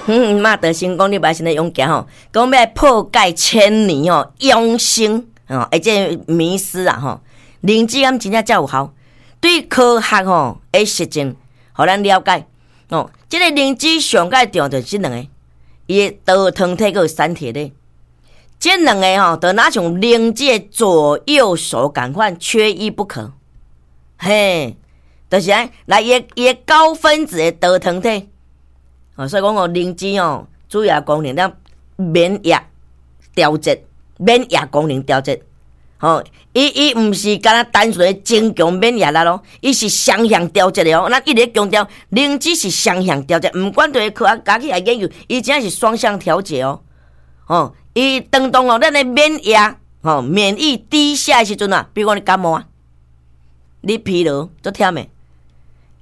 馬德成功，你擺先咧勇行吼，講欲來破解千年吼養生吼，會這個迷思啊吼，靈芝敢真正遮有效？對科學吼的實證，予咱了解哦。這個靈芝上蓋重要就是這兩个，伊的多糖體閣有三萜咧。這兩个吼，就若像靈芝的左右手仝款，缺一不可。嘿，就是按來伊的高分子的多糖體。哦，所以講哦，靈芝哦，主要功能咱免疫調節，免疫功能調節。吼，伊毋是干焦單純的增強免疫力咯，伊是雙向調節的哦。咱一直強調，靈芝是雙向調節，毋管對科學家起來研究，伊真正是雙向調節哦。吼，伊當當哦，咱的免疫吼免疫低下的時陣啊，比如講你感冒啊，你疲勞足忝的，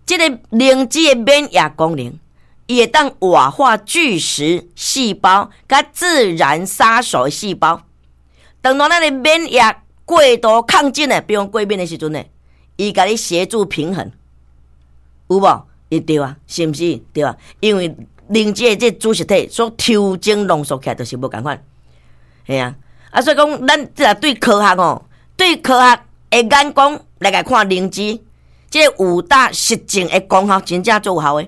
這个靈芝的免疫功能，伊會當活化巨噬細胞，佮自然殺手細胞。當當咱的免疫過度亢進的，比如講過敏的時陣呢，伊共你協助平衡，有無？伊對啊，是毋是？對啊，因為靈芝的這子實體所抽精濃縮起來，就是無仝款，嘿啊！啊，所以講，咱這對科學吼，對科學的眼光來共看靈芝，這個五大實證的功效真正足有效的。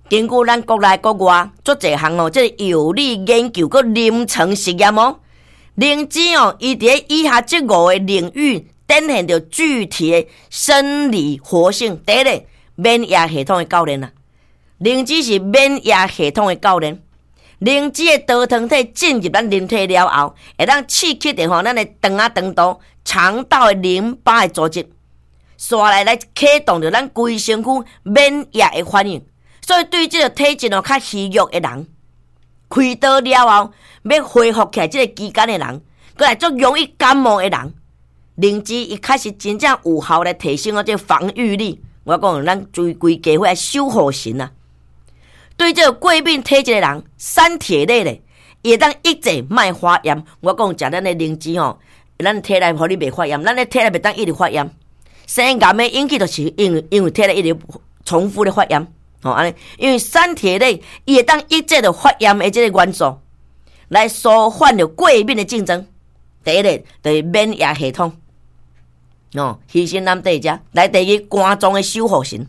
根據咱國內國外足濟項哦，這個有理研究閣臨床實驗哦，靈芝哦，伊佇咧以下這五个領域展現著具體的生理活性。第一个，免疫系統的教練啊，靈芝是免疫系統的教練。靈芝的多糖體進入咱人體了後，會當刺激著吼咱的腸仔腸道、腸道的淋巴的組織，紲來來啟動著咱規身軀免疫的反應。所以對這个體質哦較虛弱的人，開刀了後欲恢復起來這个期間的人，閣來足容易感冒的人，靈芝伊確實真正有效來提升我這个防禦力。我講咱規規家伙愛守護神啊！對這个過敏體質的人，三萜類咧，伊會當抑制莫發炎。我講食咱的靈芝吼，咱體內予你袂發炎，咱的體內袂當一直發炎。生癌的引起就是因為體內一直重複咧發炎。吼按呢，因為三萜類伊會當抑制著發炎的這个元素，來舒緩著過敏的症狀。第一个就是免疫系統，哦，犧牲咱底遮。來第二，肝臟的守護神。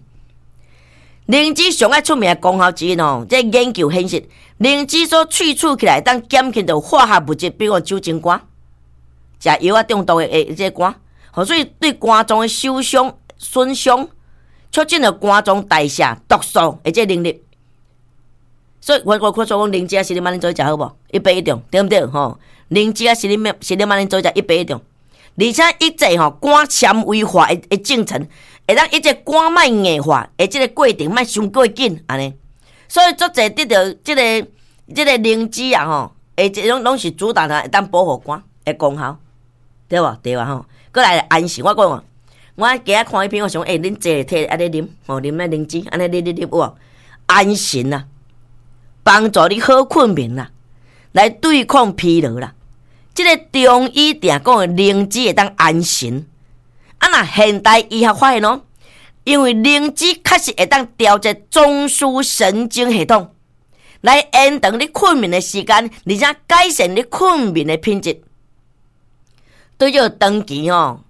靈芝上愛出名的功效之一哦，這個研究顯示，靈芝所萃取起來，當減輕著化學物質，比如講酒精肝，食藥仔中毒的這個肝，吼，所以對肝臟的受傷、損傷，促進著肝臟代謝毒素的這個能力。所以我說講靈芝仔是你慢恁做伙食好無？一百一種，對毋對？吼，靈芝仔是你慢恁做伙食一百一種，而且抑制吼肝纖維化的進程，會當抑制肝莫硬化的這个過程，莫傷過緊按呢。所以足濟得著這个靈芝啊吼，會這種攏是主打的會當保護肝的功效，對無？對啊吼。閣來安神，我講，我今仔看彼篇，我想，欸，恁坐體按呢啉，吼，啉那靈芝，按呢啉啉啉有無？安神啊，幫助你好睏眠啦，來對抗疲勞啦。這个中醫定講的靈芝會當安神，啊，若現代醫學發現哦，因為靈芝確實會當調節中樞神經系統，來延長你睏眠的時間，而且改善你睏眠的品質。對這個長期吼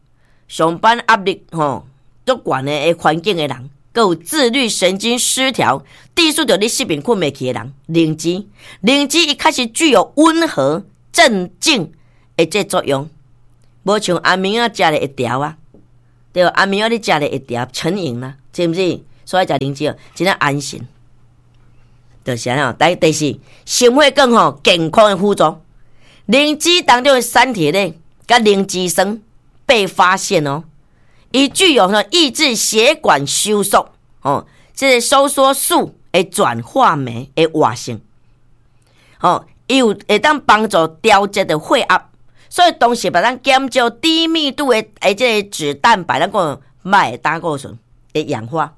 上班壓力吼足懸的環境的人，閣有自律神經失調、致使著你失眠睏袂去的人，靈芝，靈芝伊確實具有溫和鎮靜的這作用，無像安眠藥食咧會調啊，對，安眠藥你食咧會調成癮啦，是毋是？所以食靈芝哦，真正安神。就是按呢，第四，心血管吼健康的輔助，靈芝當中的三萜類佮靈芝酸被發現哦，伊具有呢抑制血管收縮哦，這个收縮素的轉化酶的活性，吼，伊有會當幫助調節著血壓，所以同時會當減少低密度的這个脂蛋白，咱講歹的膽固醇的氧化，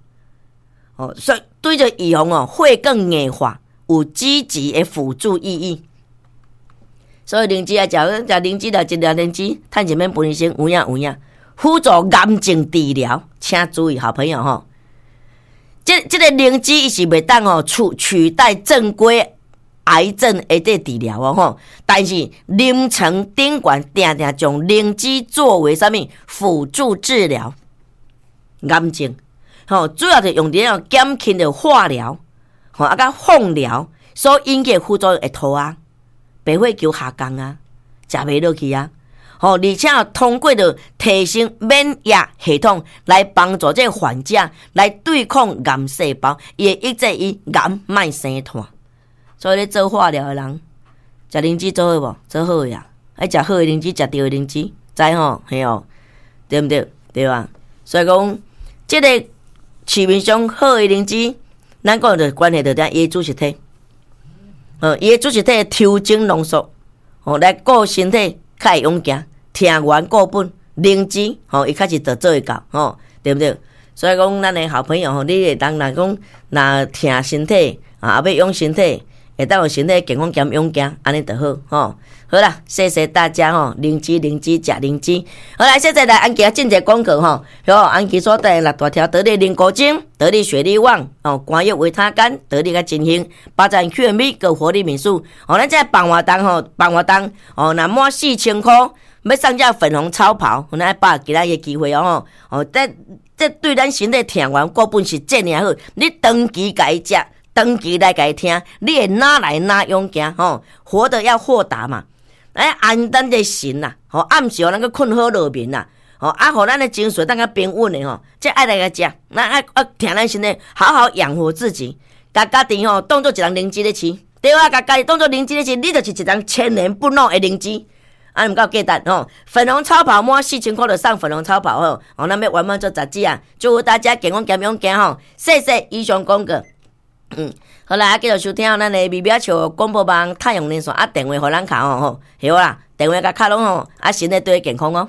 哦，所以對著預防哦血管硬化有積極的輔助意義。所以靈芝啊，食食靈芝啦，一粒靈芝，趁錢免分醫生，有影有影。輔助癌症治療，請注意，好朋友吼。這個靈芝伊是袂當吼取代正規癌症的這治療哦吼，但是臨床頂懸定定將靈芝作為啥物輔助治療癌症，吼，主要是用佇咧減輕著化療，吼啊佮放療所引起的副作用會吐啊，白血球下降啊，食袂落去啊，吼，而且通過著提升免疫系統來幫助這個患者來對抗癌細胞，伊會抑制伊癌莫生湠。所以咧做化療的人，食靈芝做好無？做好呀，愛食好的靈芝，食對的靈芝，知吼？嘿哦，對毋對？對吧？所以講，這個市面上好的靈芝，咱講就關係著佇伊的脂質體，伊的脂質體抽精濃縮，吼，來顧身體較會勇健，疼源固本，靈芝，吼，伊確實就做會到，吼，對毋對？所以講，咱的好朋友吼，你會當若講若疼身體啊，欲養身體，會當予身體健康兼勇健，按呢就好吼。好啦，謝謝大家吼，靈芝靈芝食靈芝。好來，現在來安琪進一個廣告吼，好，安琪所帶六大條得力靈菇精、得力雪莉旺哦，肝藥維他苷、得力佮真興，八盞 Q&B 佮活力敏素。哦，咱這辦活動吼，辦活動哦，若滿4000箍欲送這粉紅超跑，咱愛把握今仔日機會哦吼。哦，這對咱身體疼源固本是遮爾好，你長期共伊食。長期來共伊聽，你會哪來哪勇健吼？活得要豁達嘛，來安咱的神啦，吼，暗時予咱閣睏好落眠啦，吼，啊，予咱的情緒當較平穩的吼，這愛來共食，咱愛愛疼咱身體，好好養活自己，共家己吼當做一人靈芝咧飼，對啊，共家己當做靈芝咧飼，你就是一人千年不老的靈芝，啊，毋夠價值吼。粉紅超跑滿4000箍就送粉紅超跑吼，哦，咱欲圓滿做雜誌啊，祝福大家健康兼勇健吼，謝謝以上廣告。嗯，好啦，繼續收聽咱的微微仔笑廣播網太陽連線啊，電話予咱敲吼，好啦，電話共敲攏吼，啊，身體對健康哦。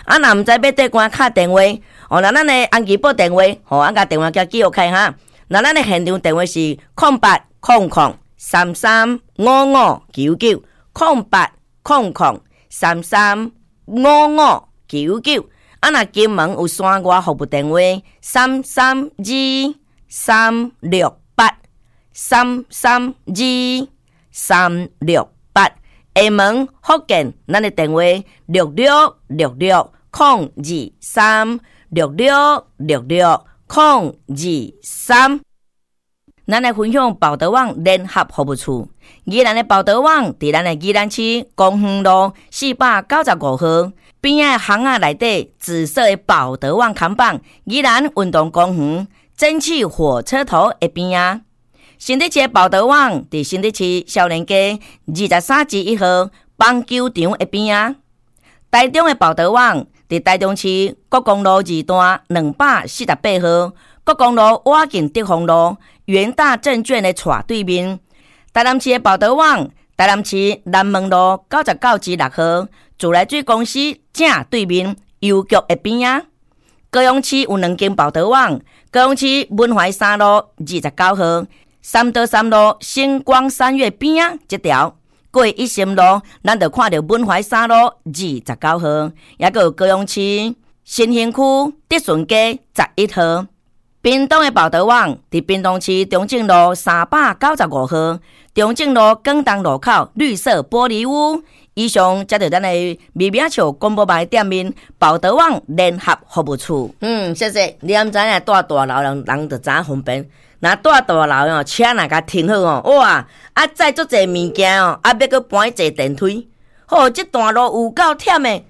啊，若毋知欲佗關敲電話，哦，那咱的安琪撥電話，吼，按共電話共記錄開哈。那咱的現場電話是0800335599，0800335599。啊，若金門有山外服務電話332368 332368，廈門福建咱的電話6666023 6666023。咱來分享寶德網聯合服務處，宜蘭的寶德網佇咱的宜蘭市公園路495號邊仔巷仔內底紫色的寶德網看板，宜蘭運動公園蒸汽火車頭的邊仔。新竹市的寶德網佇新竹市少年街23之1號棒球場的邊仔。台中的寶德網佇台中市國公路二段248號國公路倚近德豐路元大證券的斜對面。台南市的寶德網，台南市南門路99之6號自來水公司正對面郵局的邊仔。高雄市有兩間寶德網，高雄市文懷三路29號三多三路星光三月邊仔這條過一心路，咱就看著文懷三路29號，抑閣有高雄市新興區德順街11號。屏東的寶德網佇屏東市中正路395號，中正路廣東路口綠色玻璃屋。以上才著咱的微微仔笑廣播網的店面寶德網聯合服務處。嗯，謝謝。你敢知影住大樓人人就知影方便。若住大樓哦，車若共停好哦，哇！啊，載足濟物件哦，啊，欲閣搬去坐電梯，吼，這段路有夠忝的。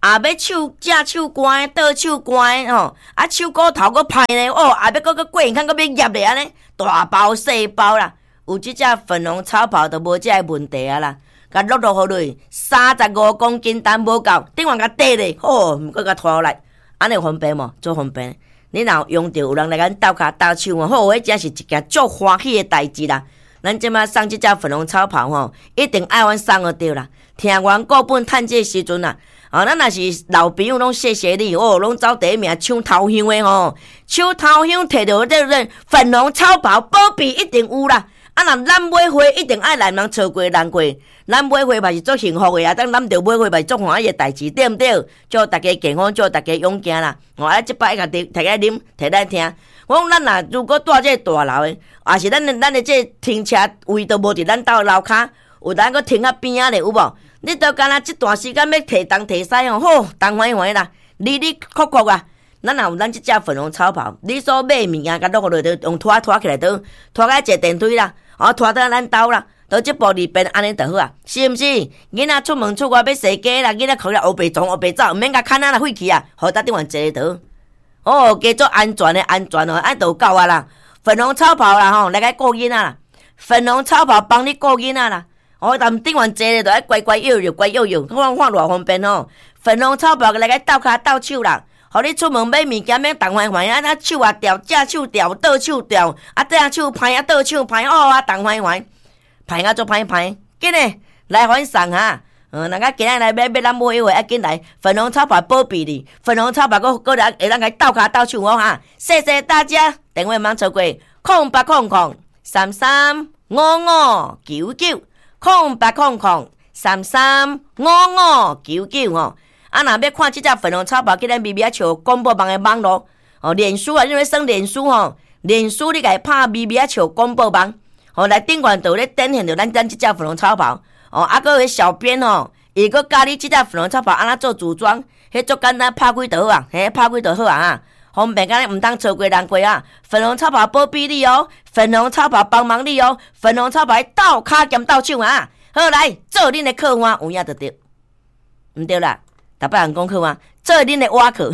啊，欲手正手關的，倒手關的吼，啊，手骨頭閣歹呢，哦，啊，欲閣閣過關閣欲夾咧按呢，大包細包啦，有這隻粉紅超跑就無這个問題啊啦，共落落予落，35公斤重無夠，頂懸共綴咧，吼，閣共拖來，按呢方便無？足方便。你若有用著，有人來共阮鬥跤鬥手哦，好，彼真是一件足歡喜的代誌啦。咱這擺送這隻粉紅超跑吼，一定愛阮送就對啦。疼源顧本趁這個時陣啊，哦，咱若是老朋友攏謝謝你哦，攏走第一名搶頭香的吼，搶頭香提著這個粉紅超跑，保庇一定有啦。啊，若咱買花一定愛來人錯過難過，咱買花嘛是足幸福的啊！當攬著買花嘛是足歡喜的代誌，對毋對？祝大家健康，祝大家勇健啦！哦，啊，這擺共提來啉，提來聽。我講咱若如果住這個大樓的，抑是咱的這個停車位都無佇咱兜樓跤，有當閣停較邊仔咧，有無？你都敢若這段時間欲提東提西吼，好，東煩煩啦，離離闊闊啊！咱若有咱這隻粉紅草跑，你所買物件，共落落就用拖拖起來倒，拖到坐電梯啦，哦，拖倒咱兜啦，到這步裡邊按呢就好啊，是毋是？囡仔出門出外欲踅街啦，囡仔可能烏白撞烏白走，毋免共牽啊啦，廢去啊，予搭頂懸坐倒。哦，加做安全的安全哦，按就夠啊啦。粉紅草跑啦吼，來共顧囡仔啦。粉紅草跑幫你顧囡仔啦。哦，但頂懸坐咧，就愛乖乖搖搖，乖搖搖，看看偌方便吼。粉紅草跑來共鬥跤鬥手啦。予你出門買物件免動煩煩，啊，那手也掉，正手掉，倒手掉，啊，正手歹啊，倒手歹，哦啊，動煩煩，歹啊，足歹歹，緊嘞，來還送哈。嗯，人家今仔來買買咱買話，愛緊來，粉紅草跑保庇你，粉紅草跑閣閣來會當共鬥跤鬥手哦哈。謝謝大家，電話毋通錯過，0800335599，0800335599吼。啊，若欲看這隻粉紅草跑，去咱微微仔笑廣播網的網路哦，臉書啊，你欲算臉書吼，臉書你共伊拍微微仔笑廣播網，吼來頂懸就咧展現著咱這隻粉紅草跑哦，啊，閣有小編吼，伊閣教你這隻粉紅草跑按怎做組裝，彼足簡單，拍開就好啊，嘿，拍開就好啊，哈，方便甲你毋通錯過難過啊！粉紅草跑保庇你哦，粉紅草跑幫忙你哦，粉紅草跑鬥跤兼鬥手啊！好來做恁的客戶有影就對，毋對啦。逐擺人講好啊，做恁的碗客。